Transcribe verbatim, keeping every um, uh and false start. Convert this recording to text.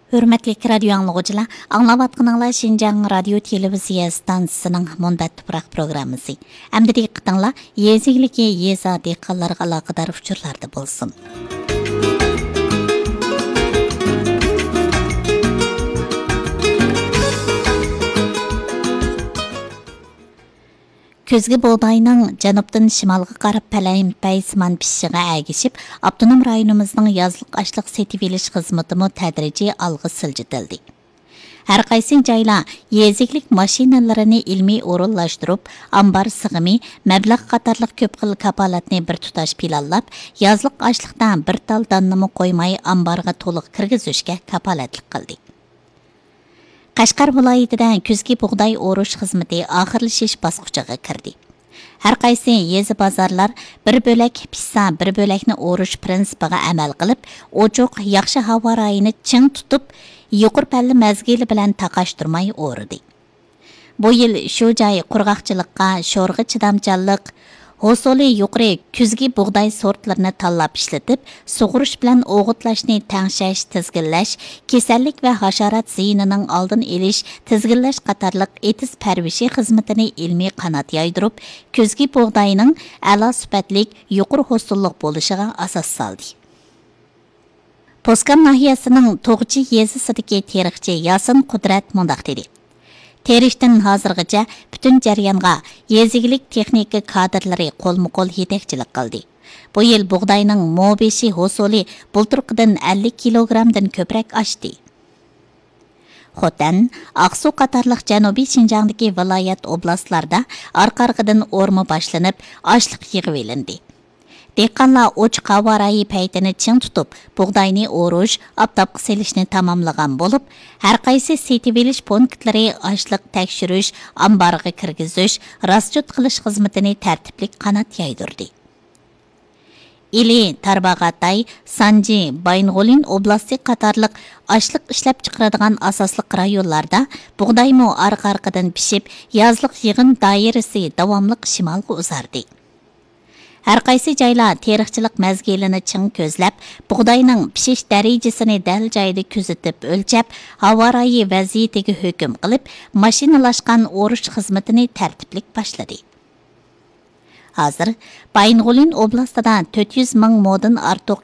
ھۆرمەتلىك رادىيو ئاڭلىغۇچىلار، ئاڭلاۋاتقىنىڭلار شىنجاڭ رادىيو تېلېۋىزىيە ئىستانسىسىنىڭ مۇنبەت تۇپراق پروگراممىسى. ئەمدى دىققىتىڭلار يېزا ئىگىلىكى، يېزا دېھقانلىرىغا ئالاقىدار ئۇچۇرلاردا بولسۇن. كۈزگى بۇغداينىڭ جەنۇبتىن شىمالغا قاراپ پەلەمپەيسىمان پىشىشىغا ئەگىشىپ، ئاپتونوم رايونىمىزنىڭ يازلىق ئاشلىق سېتىۋېلىش خىزمىتىمۇ تەدرىجىي ئالغا سىلجىتىلدى. ھەر قايسى جايلار يېزا ئىگىلىك ماشىنىلىرىنى ئىلمىي ئورۇنلاشتۇرۇپ، ئامبار سىغىمى، مەبلەغ قاتارلىق كۆپ خىل كاپالەتنى بىر تۇتاش پىلانلاپ، يازلىق ئاشلىقتا بىر تال داننىمۇ قويماي ئامبارغا تولۇق كىرگۈزۈشكە كاپالەتلىك قىلدى. قەشقەر ۋىلايىتىدە كۈزگى بۇغداي ئورۇش خىزمىتى ئاخىرلىشىش باسقۇچىغا كىردى. ھەر قايسى يېزا بازارلار بىر بۆلەك پىشسا، بىر بۆلەكنى ئورۇش پىرىنسىپىغا ئەمەل قىلىپ، ئوچۇق، ياخشى ھاۋا رايىنى چىڭ تۇتۇپ، يۇقىرى پەللە مەزگىلى بىلەن تاقاشتۇرماي ئورىدى. بۇ يىل شۇ جاي قۇرغاقچىلىققا، شورغا چىدامچانلىق، ھوسۇلى يۇقىرى كۈزگى بۇغداي سورتلىرىنى تاللاپ ئىشلىتىپ، سۇغۇرۇش بىلەن ئوغۇتلاشنى تەڭشەش، تىزگىنلەش، كېسەللىك ۋە ھاشارات زىيىنىنىڭ ئالدىنى ئېلىش، تىزگىنلەش قاتارلىق ئېتىز پەرۋىشى خىزمىتىنى ئىلمىي قانات يايدۇرۇپ، كۈزگى بۇغداينىڭ ئەلا سۈپەتلىك، يۇقىرى ھوسۇللۇق بولۇشىغا ئاساس سالدى. پوسكام ناھىيەسىنىڭ توغچى يېزىسىدىكى تېرىقچى ياسىن قۇدرەت مۇنداق دېدى: تېرىشتىن ھازىرغىچە پۈتۈن جەريانغا يېزا ئىگىلىك تېخنىكا كادىرلىرى قولمۇ قول يېتەكچىلىك قىلدى. بۇ يىل بۇغداينىڭ مو بېشى ھوسۇلى بۇلتۇرقىدىن ئەللىك كىلوگرامدىن كۆپرەك ئاشتى. خوتەن، ئاقسۇ قاتارلىق جەنۇبىي شىنجاڭدىكى ۋىلايەت، ئوبلاستلاردا ئارقا-ئارقىدىن ئورما باشلىنىپ، ئاشلىق يىغىۋېلىندى. دېھقانلار ئوچۇق ھاۋا رايى پەيتىنى چىڭ تۇتۇپ، بۇغداينى ئورۇش، ئاپتاپقا سېلىشنى تاماملىغان بولۇپ، ھەرقايسى سېتىۋېلىش پونكىتلىرى ئاشلىق تەكشۈرۈش، ئامبارغا كىرگۈزۈش، راسچوت قىلىش خىزمىتىنى تەرتىپلىك قانات يايدۇردى. ئىلى، تارباغاتاي، سانجى، بايىنغولىن ئوبلاستى قاتارلىق ئاشلىق ئىشلەپچىقىرىدىغان ئاساسلىق رايونلاردا بۇغدايمۇ ئارقا-ئارقىدىن پىشىپ، يازلىق يىغىم دائىرىسى داۋاملىق شىمالغا ئۇزاردى. ھەرقايسى جايلار تېرىقچىلىق مەزگىلىنى چىڭ كۆزلەپ، بۇغداينىڭ پىشىش دەرىجىسىنى دەل جايىدا كۆزىتىپ ئۆلچەپ، ھاۋا رايى ۋەزىيىتىگە ھۆكۈم قىلىپ، ماشىنىلاشقان ئورۇش خىزمىتىنى تەرتىپلىك باشلىدى. ھازىر بايىنغولىن ئوبلاستىدا تۆت يۈز مىڭ مودىن ئارتۇق